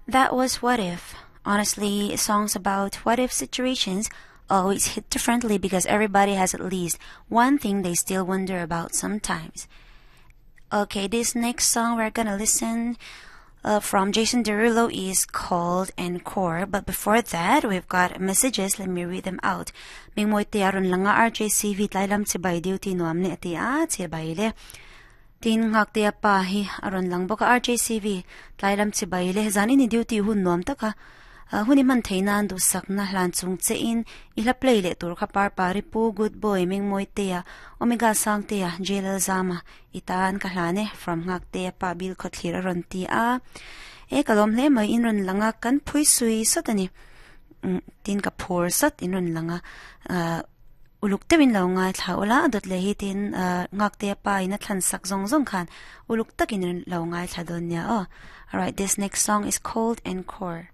That was What If. Honestly, songs about what if situations always hit differently because everybody has at least one thing they still wonder about sometimes. Okay, this next song we're gonna listen uh, from Jason Derulo is called Encore. But before that, we've got messages. Let me read them out. Mingmoi te aron langa RJCV tlailam chibai duty nuam ne ati a chibai le. Tin ngak te pa hi aron lang boka RJCV tlailam chibai le zani ni duty hun nuam taka. Uh, huni man theina du sakna hlan chung che in ila play le tur kha par pari pu good boy mingmoi te ya omega sang te ya jelal zama itan ka hlane from ngak te pa bil khothlir ron ti a e kalom hle mai in ron langa kan phui sui sotani mm, tin ka phur sat in ron langa uluk tewin lo ngai thla ula dot le hi tin ngak te pa ina thlan sak zong zong khan uluk takin lo ngai thla don nia o. Alright, this next song is called Encore.